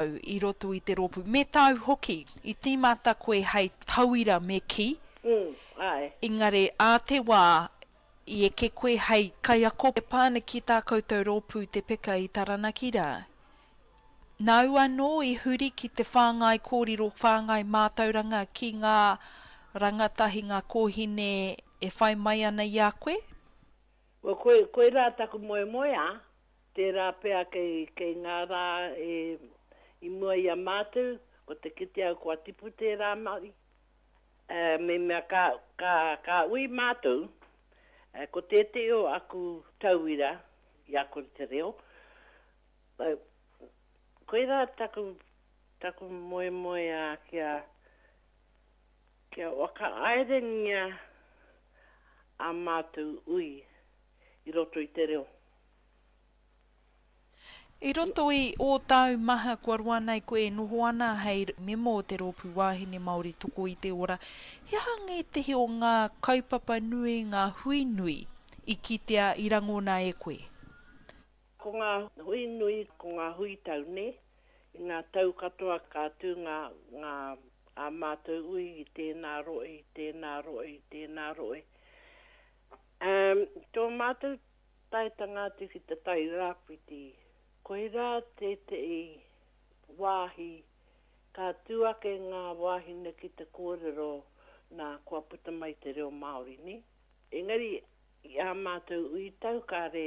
I roto i te rōpū. Me tāu hoki, i tīmata koe hei tauira me kī. Mm, āe. Engari, ā te wā i eke koe hei kaiako. E pā ana ki tā koutou rōpū Te Peka i Taranaki rā. Nāu anō i huri ki te whāngai kōrero, whāngai mātauranga ki ngā rangatahi, ngā kōhine e whai mai ana i a koe? Well, koe, koirā taku moemoeā, Tērā pea kei, kei ngā rā e, i mua i a mātou, ko te kite au kua tipu tērā mahi. Ā, me mea ka, ka, ka ui mātou, ā, ko tētehi o aku tauira i ako i te reo, ā, koirā taku, taku moemoeā kia, kia whakahaerengia ā mātou ui i roto i te reo. I roto i ō tau maha kua roa nei koe e noho ana hei mema o te Rōpū Wāhine Māori Toko i te Ora, he aha ngētehi o ngā kaupapa nui, ngā hui nui i kitea, i rangona e koe? Ko ngā hui nui, ko ngā hui tau, nē? I ngā tau katoa ka tū ngā, ngā, ā mātou ui i tēnā rohe, i tēnā rohe, i tēnā rohe. Ā, tō mātou taetanga atu ki te Tai Rāwhiti, koirā tētehi wāhi ka tū ake ngā wāhine ki te kōrero nā kua puta mai te reo Māori, nē? Engari, i ā mātou ui tau kāre,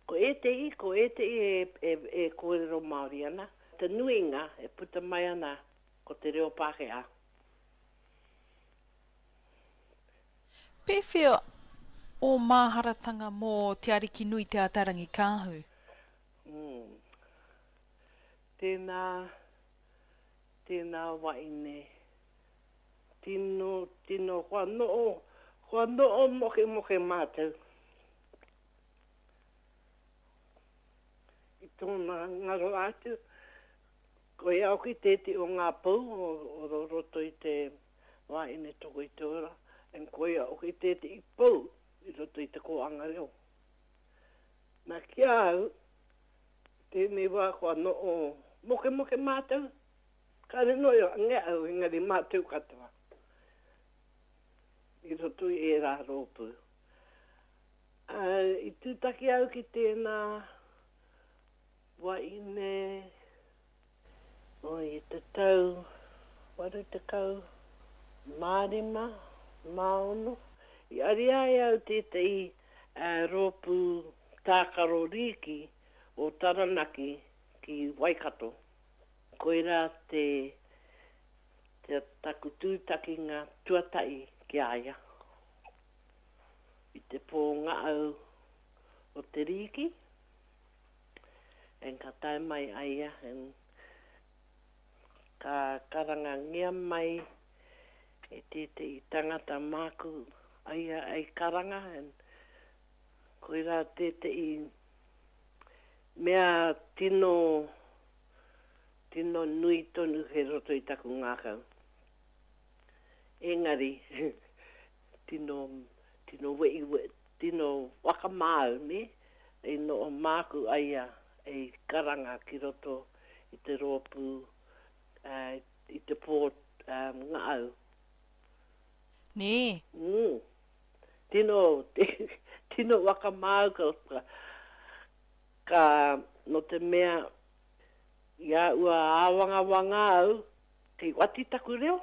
ko ētehi, ko ētehi e, e, e kōrero Māori ana, te nuinga e puta mai ana ko te reo Pākehā. Pēwhea ō māharatanga mō Te Arikinui Te Atarangikaahu? Mm. Tēnā, tēnā waine. Tino, tino, kua noho, kua noho mokemoke mātou. I tōna ngaro atu, koia hoki tētehi o ngā pou o, o roto i te Wāhine toko i te ora, and koia hoki tētehi pou i roto i te kōhanga reo. Na ki a au, tēnei wā kua noho mokemoke mātou, kāre noa i ange au engari mātou katoa i roto i ērā rōpū. Ā, i tūtaki au ki tēnā wahine I te tau 85, mā ono, i ariā e au tētahi rōpū tākaro rīki o Taranaki ki Waikato. Koirā te, te taku tūtakinga tuatahi ki a ia. I te pō ngahau o te rīki. And ka tae mai a ia and ka karangangia mai e tētehi tangata māku a ia ei karanga and koirā tētehi mea tino, tino nui tonu kei roto i taku ngākau. Engari, tino, tino wehi, tino whakamā au, nē, i noho māku a ia i karanga ki roto i te rōpū, i te pō ngahau. Nē. Mm. Tino, tino whakamā au ka, ka, nō te mea, i a ua āwangawanga au, kei wati taku reo.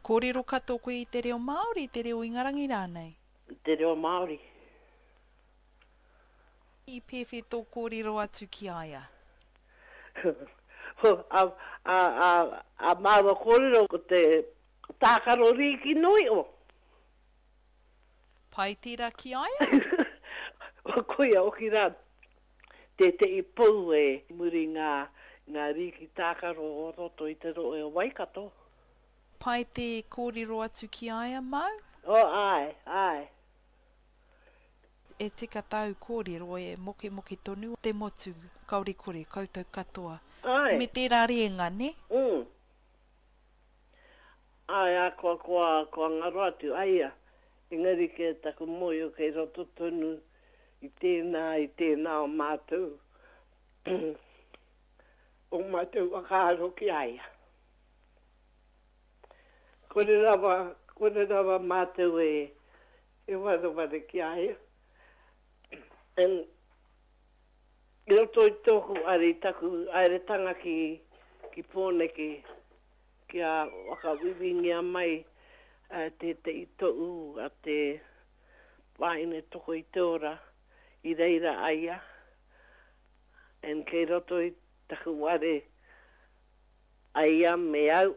Kōrero katoa koe i te reo Māori, i te reo Ingarangi rānei? I te reo Māori. I pēwhe tō kōrero atu ki a ia? A, a, a, a māua kōrero ko te tākaro rīki noa iho. Pai tērā ki a ia? Koia hoki rā tētehi pou e muri ngā, ngā rīki tākaro o roto i te rohe o Waikato. Pai te kōrero atu ki a ia, Mau? Oh, āe, āe. E tika tāu kōrero, e mokemoke tonu te motu, kāore kore, koutou katoa. Āe. Me tērā rēnga, nē? Mm. Āe, ā, kua, kua, kua ngaro atu a ia. Engari kē taku mōhio kei roto tonu i tēnā, i tēnā o mātou. Ō mātou whakaaro ki a ia. Kore rawa, kore rawa mātou e, e wareware ki a ia. And, i roto i tōku ari, taku haeretanga ki, ki Pōneke, kia whakawiwingia mai tētehi tohu a te wāhine toko i te ora, i reira a ia, and kei roto i taku ware a ia me au,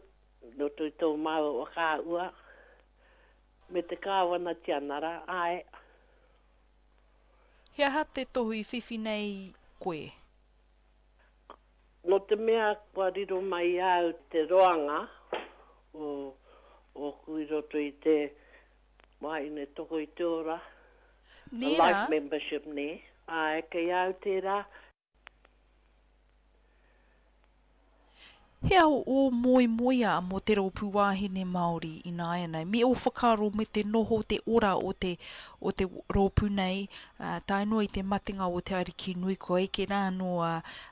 i roto i tō māua whakaahua, me te Kāwana Tianara, āe. He aha te tohu i whiwhi nei koe? Nō te mea kua riro mai i a au te roanga o ōku i roto i te wāhine toko i te ora, Nē rā? life membership nē, āe kei a au tērā. He aha ō moemoeā mō te Rōpū Wāhine Māori ināianei? Me ō whakaaro me te noho, te ora o te, o te rōpū nei, ā, tae noa i te matenga o Te Arikinui, kua eke rā anō a,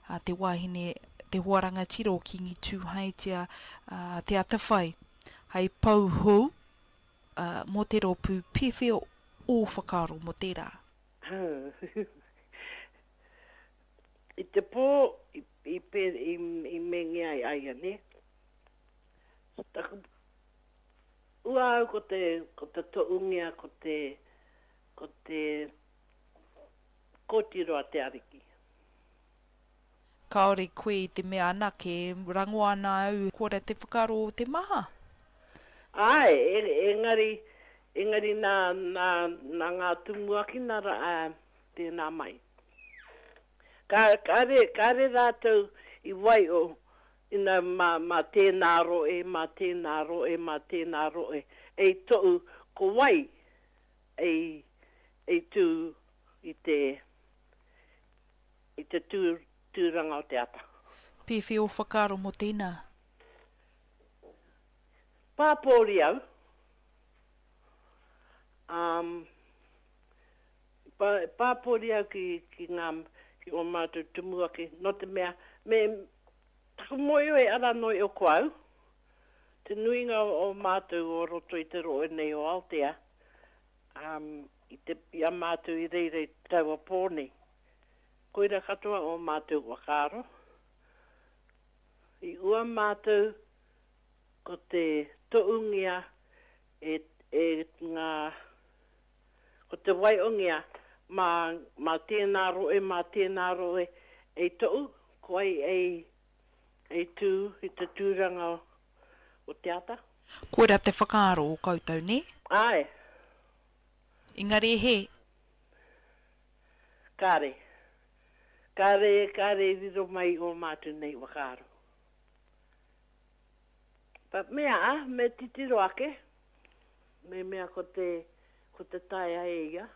a te wāhine, te hoa rangatira o Kīngi Tūhaetia, ā, Te Atawhai, hei pou hou, ā, mō te rōpū, pēwhea ō whakaaro mō tērā? I te pō i, i, i, i mengia ai a ia, nē? Taku, ua au ko te, ko te toʻungia, ko te, ko te kōtiro a te Ariki. Kāore koe i te mea anake, rango ana au koira te whakaaro o te maha. Āe, engari, engari nā, nā, nā ngā tumuaki nā, ā, tēnā mai. Ka, kāre, kāre rātou i waio, ina mā, mā tēnā rohe, mā tēnā rohe, mā tēnā rohe, ei toʻu ko wai ei, ei tū i te, i te tū, tūranga o te ata. Pēwhea ō whakaaro mō tēnā? Pāpōri au. Um, pā, pāpōri au ki, ki ngā, ki ō mātou tumuaki, nō te mea, me, taku mōhio e ara noa iho ko au, te nuinga o, o mātou o roto i te rohe nei o Aotea, um, i te, i a mātou i reira i taua pō nei. Koira katoa ō mātou whakaaro. I ua mātou ko te toʻungia e, e ngā, ko te waiongia mā, mā tēnā rohe, mā tēnā rohe ei toʻu, ko ai ei, ei tū i te tūranga o te ata. Koira te whakaaro o koutou, nē? Āe. Engari he. Kāre. Kāre, kāre i riro mai i ō mātou nei whakaaro. But me aha, me titiro ake, me mea ko te, ko te taea e ia.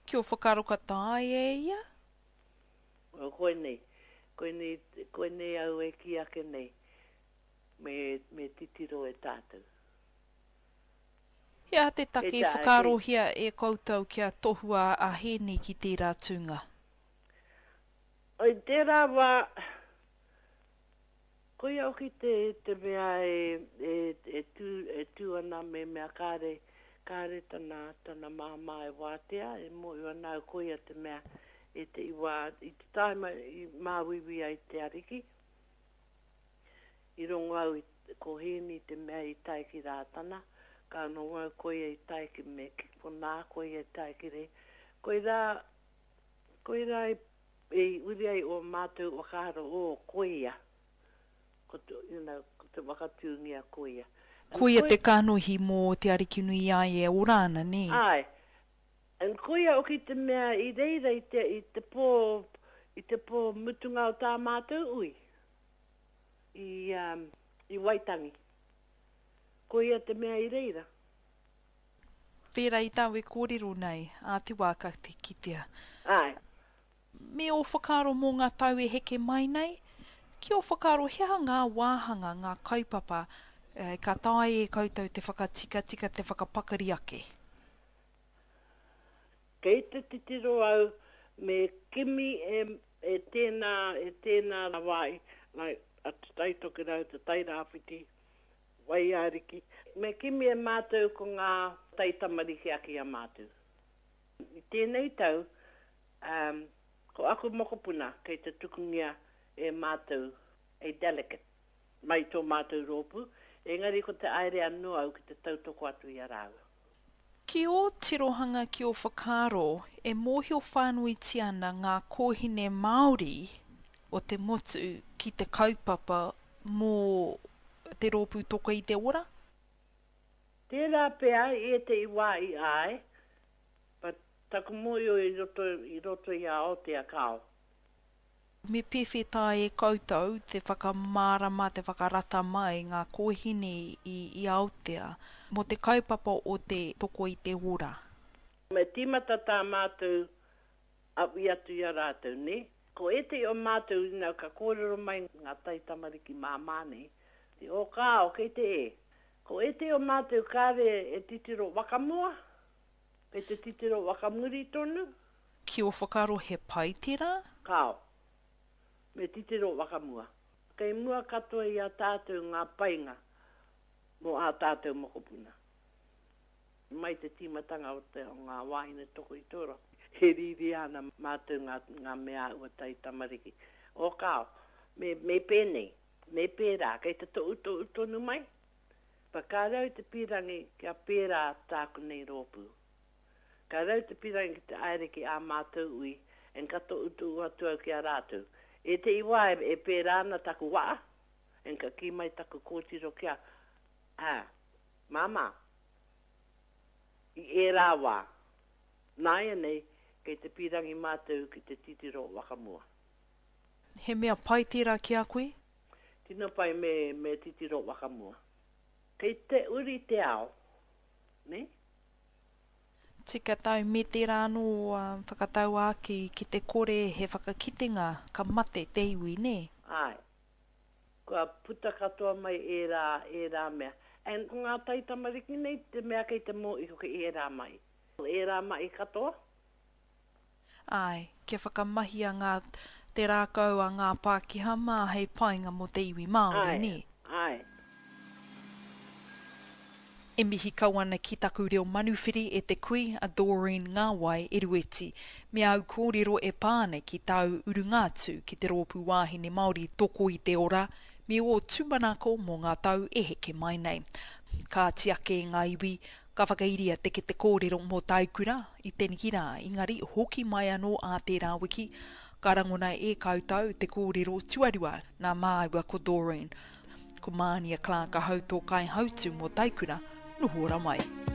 Ki ō whakaaro ka taea e ia? Well, koinei, koinei, koinei au e kī ake nei, me, me titiro e tātou. He aha te take i whakaarohia e koutou kia tohua a Hēni ki tērā tūnga? I tērā wā, koia hoki te, te mea e, e, e, tū, e tū ana me mea kāre, kāre tana, tana māmā e wātea, e mōhio ana au koia te mea e te i wā, i te tāima i māuiui ai te Ariki. I rongo au i, ko Hēni te mea i tae ki Rātana, ka rongo au koia i tae ki me, ki konā, koia i tae ki re. Koirā, koirā i, i uri ai ō mātou whakaaro, ō, koia, ko te, you know, ko te whakatūngia koia. And Koia te kanohi mō Te Arikinui i a ia e ora ana, nē? Āe. And koia hoki te mea i reira i te, i te pō, i te pō mutunga o tā mātou ui. I, i Waitangi. Koia te mea i reira. Whērā i tāu e kōrero nei, ā te wā ka te kitea. Āe. Me ō whakaaro mō ngā tau e heke mai nei? Ki ō whakaaro he aha ngā wāhanga, ngā kaupapa ka taea e koutou te whakatikatika, te whakapakari ake? Kei te titiro au. Me kimi e e tēnā, e tēnā wāhi, like a Te Tai Tokerau, Te Tai Rāwhiti, Waiariki. Me kimi e mātou ko ngā taitamariki ake i a mātou. I tēnei tau, um, ko aku mokopuna kei te tukungia e mātou a delegate mai tō mātou rōpū, engari ko te aere anō au ki te tautoko atu i a rāua. Ki ō tirohanga ki ō whakaaro, e mōhio whānuitia ana ngā kōhine Māori o te motu ki te kaupapa mō te rōpū Toko i te Ora? Tērā pea i ētehi wā i āe, but taku mōhio i roto, i roto i a Aotea kāo. Me pēwhea tā e koutou te whakamārama, te whakarata mai ngā kōhine i, i Aotea mō te kaupapa o te Toko i te Ora? Me tīmata tā mātou awhi atu i a rātou, nē? Ko ētehi o mātou, you know, ka kōrero mai ngā taitamariki māmā nei, te, oh kāo, kei te e. Ko ētehi o mātou kāre e titiro wakamua, kei te titiro wakamuri tonu. Ki ō whakaaro he pai tērā? Kāo. Me titiro wakamua. Kei mua katoa i a tātou ngā painga mō ā tātou mokopuna. Mai te tīmatanga o te o ngā wāhine toko i te ora, e rīria ana mātou ngā, ngā mea āhua taitamariki. Oh kāo, me, me pēnei, me pērā, kei te tohutohu tonu mai. But kāre au i te pīrangi kia pērā tāku nei rōpū. Kāre au i te pīrangi ki te aere ki ā mātou ui, and ka tohutohu atu au ki a rātou. Ētehi wā e, e pērā ana taku waa, and ka kī mai taku kōtiro ki a, ā, Māmā, i ērā wā, nāianei kei te pīrangi mātou ki te titiro wakamua. He mea pai tērā ki a koe? Tino pai me, me titiro wakamua. Kei te uri te ao, nē? Tika tau me tērā anō whakatauākī ki te kore he whakakitenga ka mate te iwi, nē? Āe. Kua puta katoa mai ērā, ērā mea. And ko ngā taitamariki nei te mea kei te mō iho ki ērā mahi. Ērā mahi katoa. Āe, kia whakamahia ngā, te rākau a ngā Pākehā mā hei painga mō te iwi Māori, Āe, nē? āe. E mihi kau ana ki taku reo manuwhiri e te kui a Doreen Ngawai Erueti me āu kōrero e pā ana ki tāu urunga atu ki te Rōpū Wāhine Māori Toko i te Ora me ō tūmanako mō ngā tau e heke mai nei. Kāti ake ngā iwi, ka whakairia te kete kōrero mō Taikura i teneki rā, engari hoki mai anō ā tērā wiki, ka rangona e koutou te kōrero tuarua nā māua ko Doreen. Ko Mānia Clark ahau tō kaihautū mō Taikura, noho ora mai.